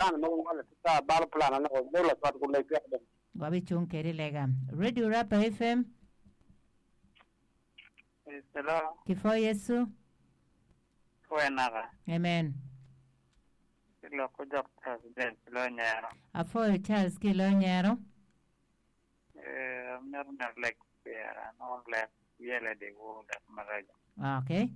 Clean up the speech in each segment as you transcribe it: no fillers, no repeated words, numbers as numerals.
Plan mogo ngolo ki ca balo plan ane ko dong lacwat guleg gek dong. Wabicung kedi lega. Radio Rapa FM. Hello, Kipwo Yecu. pwoye naka. Amen. Ki lok ko jok President ki lo nyero. Apwoyo Charles ki lo nyero. Eh, amito neno lek pira, anongo lek yele di wor lek maraco. Okay.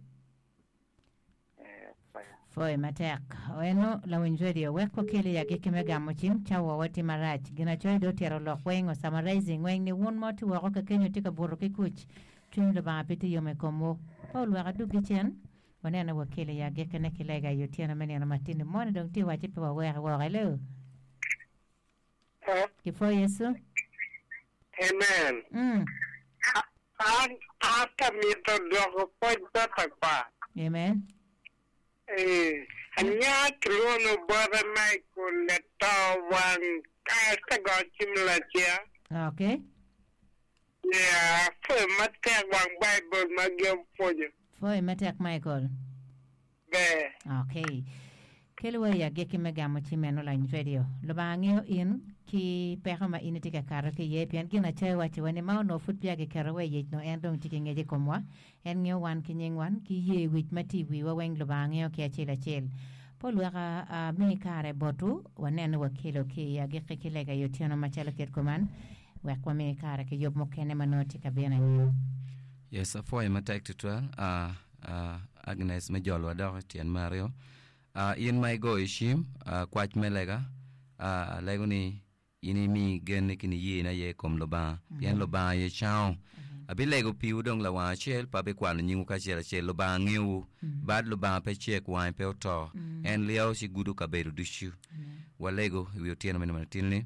Eh, pwoya. Pwoyo matek. Eno lawiny radio wek wakele i agikki me gamo cim cawa wa tye marac. Ginacoya dong otyero lok weng o summarizing weng ni wun ma wutye woko kakenyo tye ka buto ki kuc cwiny Lubanga pe tye yom i komwu. Paul wek aduggi cen wanene wakele i agikkine ki lega i otyeno me nino matini moni dong tye wacci pe waweke woko. Hello. Kipwoyo Yecu. Amen. Mm. An ata mito dwoko pwoc bot akwar. Amen. Ee, anya kilwono bote Michael lato wang ka go cim lacen. Okay. Yeah, apwoyo matek wang Baibul ma gin pwonyo. Pwoyo matek Michael. Ber. Okay. Kel wa i agikki me gamo ci meno lany radio. Lubanga ngeyo in ki peko ma in itye ka kato ki iye pien Ginacoya wacciwa ni ma onongo pud peya giketo wa i ic nongo en dong tye ki ngec i komwa. En ngeyo wan ki nying wan ki yer wic ma tye i wiwa weng Lubanga ngeyo ki acel acel. Pol wek ami kare botwu wanen ni wakelo ki i agikki ki lega i otyeno macalo kit kuman wek wami kare ki yub mukene ma nongo tye ka bino anyim. Yes, apwoyo matek tutwal. Uh, uh, Agnes me jolo wadok i tyen me aryo. Uh, in ma igoyo cim, uh, kwac me lega, uh, alego ni in imi genni ki niyeni aye i kom Lubanga, pien Lubanga aye cango. Abilego piwu dong lawang acel, pe abikwano nyingwu kacel acel. Lubanga ngeyowu. Bad Lubanga pe cek, wange pe oto. En lyeo ci gudo kabedo ducu. Walego i wi otyeno meno matin-ni.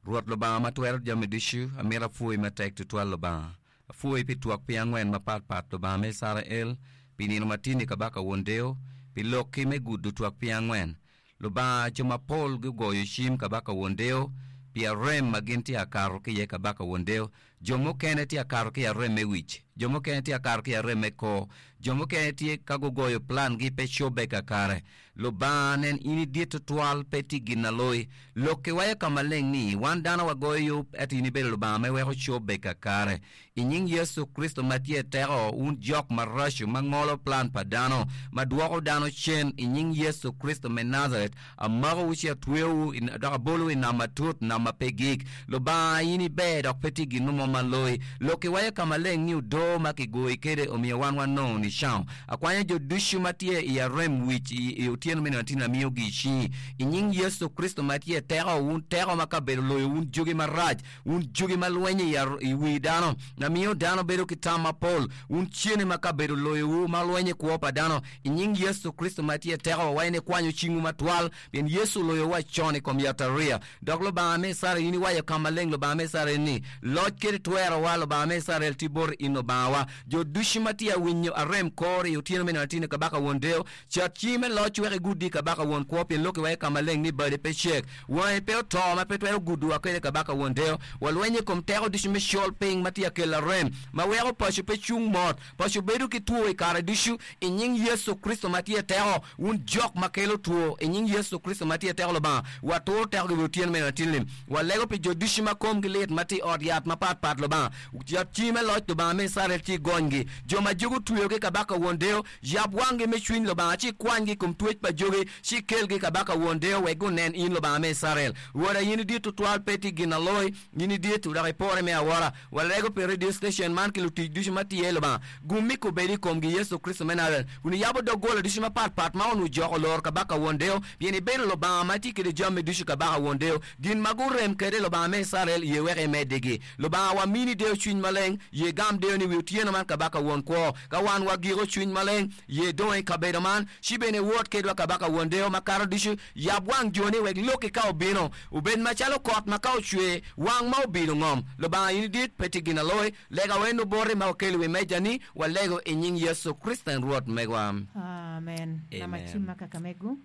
Rwot Lubanga ma twero jami ducu, amito apwoyi matek twatwal Lubanga. Apwoyi pi twak piny angwen mapatpat, Lubanga me Icrael, pi nino matin-ni Kabaka Won Deyo, pi lokki me gudo twak piny angwen. Lubanga, jo mapol gugoyo cim Kabaka Won Deyo pi arem ma gin tye akato ki iye Kabaka Won Deyo. Jo mukene tye akato ki i arem me wic, jo mukene tye akato ki i arem me kor, jo mukene tye ka gugoyo plangi pe cobbe kakare. Lubanga, nen in idit twatwal, pe tye gin na loyi. Lokki waco ka maleng ni, wan dano wagoyo yub, ento in ibedo Lubanga ma iweko cobbe kakare. I nying Yecu Kricito ma tye teko, wun jok maraco ma ngolo plan pa dano, ma dwoko dano cen, i nying Yecu Kricito me Nazaret, amakowu ci atweyowu dok abolowu i nam matut, nam ma pe gik. Lubanga, in iber dok pe tye gin mo ma loyi. Lokki waco ka maleng ni odoo ma kigoyi kwede omiyo wan wanongo nicango. Akwanyo jo ducu ma tye i arem wic i otyeno me nino atin amiyogi i cingi. I nying Yecu Kricito ma tye teko, wun teko ma kabedo loyo wun jogi marac, wun jogi ma lwenyo i wi dano, ma miyo dano bedo ki tam mapol, wun cene ma kabedo loyowu ma lwenyo i kwo pa dano, i nying Yecu Kricito ma tye teko, wawaco ni kwanyo cingwu matwal, pien Yecu oloyowa con i kom yatariya. Dok Lubanga me Icrael, in iwaco ka maleng, Lubanga me Icrael, ni, Loc kede twerowa, Lubanga me Icrael, tye boti in Lubangawa. Jo ducu ma tye awinyo arem kor i otyeno me nino atin-ni, Kabaka Won Deyo, Cat cingi me loc wek iguddi kabaka won kwo, pien lokki waco ka maleng ni bade pe cek, wangi pe oto ma pe twero gudowa kwede kabaka won deyo. Walwenyo i kom teko ducu me col piny ma tye ka kelo arem, ma weko paco pe cung mot, paco bedo ki two i kare ducu, i nying Yecu Kricito ma tye teko. Wun jok ma kelo two, i nying Yecu Kricito ma tye teko Lubanga, waturo tekogi wi otyeno meno atinni. Walego pi jo ducu ma komgi lit ma tye i ot yat mapat pat Lubanga. Cat cingi me loc Lubanga me Icrael ci igonygi. Jo ma jogi otweyogi kabaka won deyo, Yab wanggi me cwiny Lubanga, ci ikwanygi i kom twec pa jogi, ci ikelgi i kabaka won deyo wek gunen in Lubanga me Icrael. Rwoda, in idit twatwal, pe tye gin aloyi, in idit, dok ipore me awora. Walego pi radio station man ki lutic ducu ma tye iye, Lubanga. Gummi kobedi i komgi, Yecu Kricito me Najaret, kun iyabo doggola ducu mapatpat ma onongo ojoko oloro kabaka won deyo, pien ibedo Lubanga ma tye kede jami ducu, kabaka won deyo. Gin ma gurem kede Lubanga me Icrael, ye wek imeddigi. Lubanga wa mini deyo cwiny maleng, ye gam deyo ni wi otyeno man kabaka won kwo. Ka wan wa giko cwiny maleng, ye dong i kabedo man, ci bene wot kedwa kabaka won deyo makato ducu. Yab wang joni wek lokki ka obino, obed macalo kot ma ka ocwer, wang ma obilo ngom. Lubanga in idit, pe tye gin aloyi. Lega wa eno boti ma wakelo i wi mejani, walego i nying Yecu Kricito en Rwot megwa. Amen. Nama Amen. cim ma kakamegu.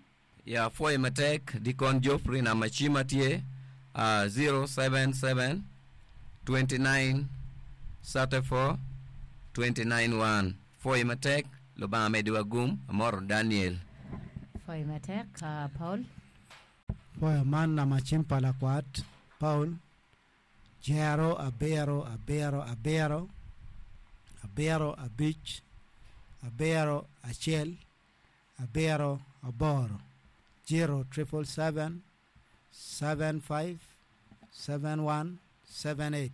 Ya apwoyo matek Dikon Geoffrey namba cima tye 077 29 34 29 1 pwoyo matek Lubanga mediwa gum amoro Daniel. Pwoyo matek Paul. Apoyo man namba cim pa lakwat Paul jero abiro abiro abiro abiro abic abiro acel abiro aboro 0777 75 71 78.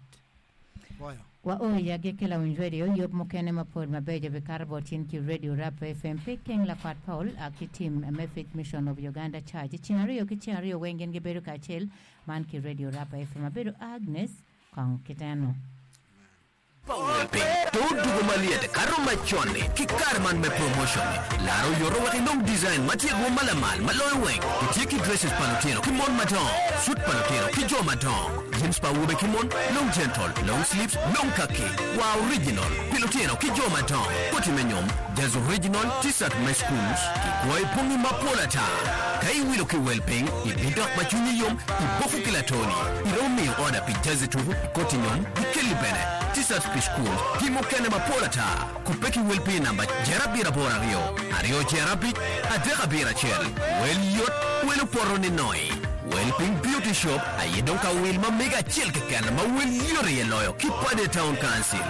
Apoyo. Wa o i agikki lawiny radio yub mukene mapol mabeco bikato bot tin ki Radio Rap FM pi King Lakwat Paul a ki team me Faith Mission of Uganda Church. Ceng aryo ki ceng aryo weng gin gibedo kacel man ki Radio Rap FM. Abedo Agnes Kong Kiteno. Pa wel piny to odugo malyet kato macon-ni ki kare man me promotion-ni. Lar oyoto wek inong design ma tye rwom ma lamal ma loyo weng. Itye ki dresses pa lutino ki mon madongo, suit pa lutino ki jo madongo, jeans pa awobe ki mon, long gentle, long sleeves, long kaki, war original pi lutino ki jo madongo, koti me nyom, jaz original, t-shirt me schools, ki gwoyo bongi mapol ata. Ka iwilo ki wel piny, ibidok ma cwinyi yom, iboko ki latoni. Iromo miyo oda pi jazi tuku, koti nyom, ki kelli bene, t-shirts pi cukul, ki mukene mapol ata. Kubbe ki wel pi namba jer abiro aboro aryo, aryo jer abic, adek abiro acel. Wel yot, wel opoto ni noi. Wel piny Beauty Shop aye dong ka wil ma mege acel keken ma wel yot iye loyo ki Pader Town Council.